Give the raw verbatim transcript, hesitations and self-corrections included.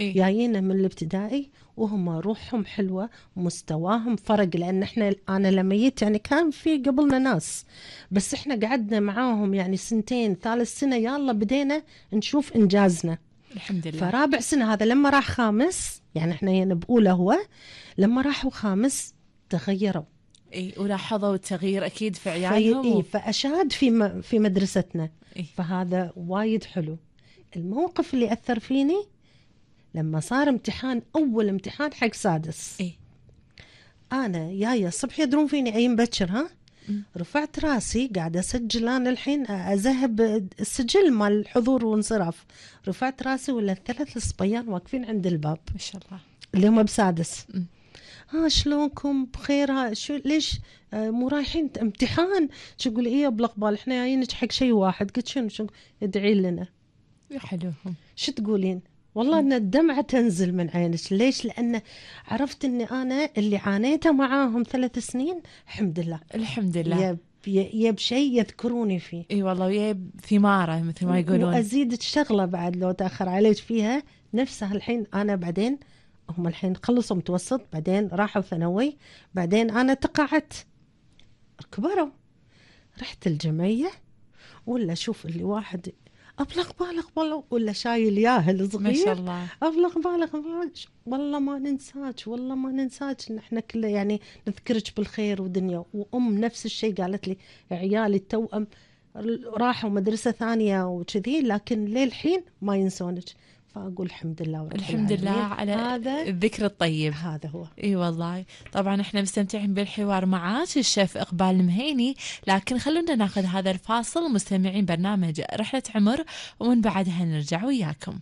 إيه؟ جايين من الابتدائي وهم روحهم حلوة، مستواهم فرق، لأن إحنا أنا لما جيت يعني كان في قبلنا ناس، بس إحنا قعدنا معاهم يعني سنتين، ثالث سنة يلا بدينا نشوف إنجازنا. الحمد لله. فرابع سنة هذا لما راح خامس، يعني إحنا يعني بأولى هو، لما راحوا خامس تغيروا. إيه ولاحظوا التغيير أكيد في في عيالهم. إيه فأشاد في م... في مدرستنا. إيه؟ فهذا وايد حلو. الموقف اللي أثر فيني لما صار امتحان، أول امتحان حق سادس. إيه؟ أنا جاية الصبح يدرون فيني أي مبكر، ها م. رفعت راسي قاعدة أسجل أنا الحين أذهب السجل مال الحضور وانصراف، رفعت راسي ولا الثلاث صبيان واقفين عند الباب ما شاء الله اللي هم بسادس. م. ها شلونكم بخير؟ ها شو ليش آه مو رايحين امتحان؟ شو يقول ايه بلقبال احنا جايين حق شيء واحد. قلت شنو؟ شو ادعي لنا. يا حلوهم. شو تقولين؟ والله ان الدمعة تنزل من عينك. ليش؟ لأن عرفت اني انا اللي عانيته معاهم ثلاث سنين الحمد لله الحمد لله يب يب شيء يذكروني فيه. اي والله ويا ثماره مثل ما يقولون. وازيدك شغلة بعد لو تأخر عليك فيها نفسها. الحين انا بعدين هم الحين خلصوا متوسط، بعدين راحوا ثانوي، بعدين انا تقاعدت، كبروا، رحت الجمعية ولا شوف اللي واحد أبلغ بالغ والله، ولا شايل ياهل صغير ما شاء الله. أبلغ بالغ والله ما ننساك، والله ما ننساك، نحن كله يعني نذكرك بالخير ودنيا. وأم نفس الشيء قالت لي عيالي التوأم راحوا مدرسة ثانية وكذي لكن للحين ما ينسونك. فأقول الحمد لله ورب الحمد لله على هذا الذكر الطيب. هذا هو. اي والله. طبعا احنا مستمتعين بالحوار معاك الشيف إقبال المهيني، لكن خلونا ناخذ هذا الفاصل مستمعين برنامج رحلة عمر ومن بعدها نرجع وياكم.